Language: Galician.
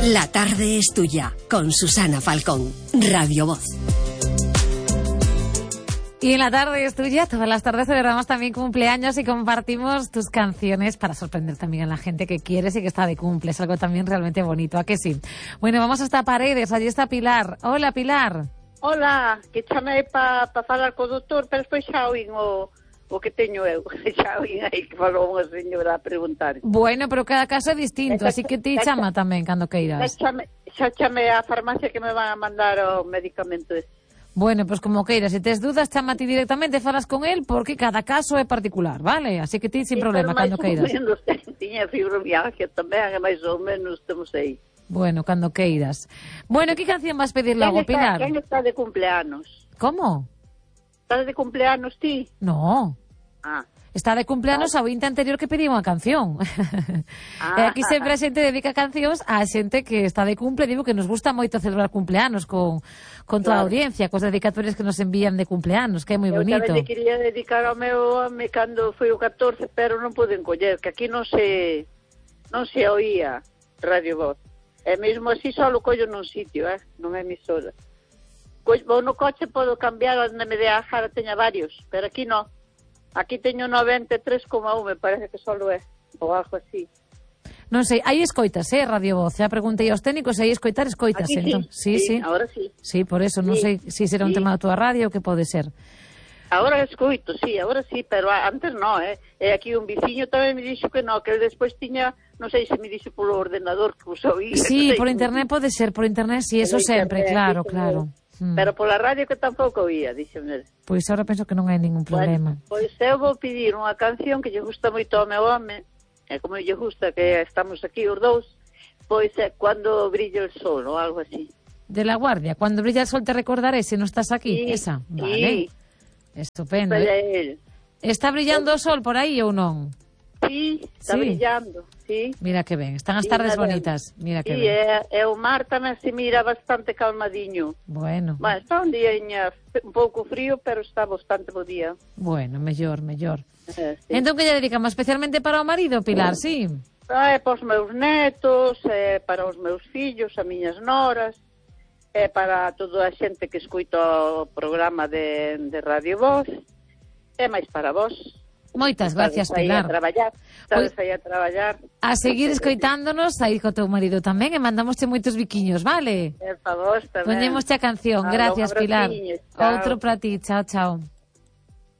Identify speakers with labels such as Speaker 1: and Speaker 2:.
Speaker 1: La tarde es tuya, con Susana Falcón, Radio Voz.
Speaker 2: Y en la tarde es tuya, todas las tardes celebramos también cumpleaños y compartimos tus canciones para sorprender también a la gente que quieres y que está de cumple. Es algo también realmente bonito, ¿a que sí? Bueno, vamos hasta Paredes, allí está Pilar. Hola, Pilar.
Speaker 3: Hola, que chamei para falar co doutor, pero despois xa oín o que teño eu. Xa oín aí que falou unha señora a preguntar.
Speaker 2: Bueno, pero cada caso é distinto, así que ti chama tamén cando queiras.
Speaker 3: Xa chamei á farmacia que me van a mandar o medicamento ese.
Speaker 2: Bueno, pues como queiras, se tes dudas, chama ti directamente, falas con él, porque cada caso é particular, vale? Así que ti sin problema, cando queiras.
Speaker 3: Tiña fibromialgia tamén, máis ou menos estamos aí.
Speaker 2: Bueno, cando queiras. Bueno, que canción vas pedir logo, Pilar?
Speaker 3: Quen está de cumpleanos?
Speaker 2: Como?
Speaker 3: Estás de cumpleanos ti?
Speaker 2: No.
Speaker 3: Ah.
Speaker 2: Está de cumpleanos ao vinte anterior que pedí unha canción. E aquí sempre a xente dedica cancións a xente que está de cumple. Digo que nos gusta moito celebrar cumpleanos con toda a audiencia, cos dedicatorios que nos envían de cumpleanos, que é moi bonito.
Speaker 3: Eu tamén quería dedicar ao meu home cando foi o 14, pero non pude encoller, que aquí non se oía Radio Voz. E mesmo así só o collo nun sitio, non é emisora. Pois vou no coche, podo cambiar onde me dé a jara, teña varios, pero aquí non. Aquí teño 93,1, me parece que só é, ou algo así.
Speaker 2: Non sei, hai escoitas, Radio Voz. Já preguntei aos técnicos se hai escoitar, escoitas.
Speaker 3: Aquí
Speaker 2: entón.
Speaker 3: Sí, agora sí.
Speaker 2: Sí, por eso, non sei se será un tema da tua radio ou que pode ser.
Speaker 3: Agora escoito, sí, agora sí, pero antes non, E aquí un veciño tamén me dixo que non, que el despois tiña, non sei se me dixo polo ordenador que os oía.
Speaker 2: Sí,
Speaker 3: no
Speaker 2: por internet pode ser, por internet, sí, eso sempre, claro.
Speaker 3: Pero pola radio que tampouco oía, dixeme.
Speaker 2: Pois agora penso que non hai ningún problema.
Speaker 3: Bueno, pois eu vou pedir unha canción que lle gusta moito ao meu home, e como lle gusta que estamos aquí os dous, pois é Cuando brilla el sol, ou algo así.
Speaker 2: De La Guardia, Cuando brilla el sol te recordaré se non estás aquí,
Speaker 3: sí,
Speaker 2: esa, vale.
Speaker 3: Sí.
Speaker 2: Estupendo.
Speaker 3: Él.
Speaker 2: Está brillando o sol por aí ou non?
Speaker 3: Sí, está brillando, sí.
Speaker 2: Mira que ben, están as tardes bonitas. Mira que ben.
Speaker 3: E o mar tamén se mira bastante calmadiño.
Speaker 2: Bueno,
Speaker 3: está un día un pouco frío, pero está bastante bo día.
Speaker 2: Bueno, mellor.
Speaker 3: Sí.
Speaker 2: Entón que lle dedicamos especialmente para o marido, Pilar, sí?
Speaker 3: Para os meus netos, para os meus fillos, as miñas noras, para toda a xente que escuita o programa de Radio Voz, e máis para vos.
Speaker 2: Moitas gracias, Pilar.
Speaker 3: Estades aí a traballar.
Speaker 2: A seguir escoitándonos, aí co teu marido tamén, e mandamosche moitos biquiños, vale?
Speaker 3: Por favor, tamén.
Speaker 2: Poñémosche a canción. Gracias, Pilar. Outro para ti. Chao, chao.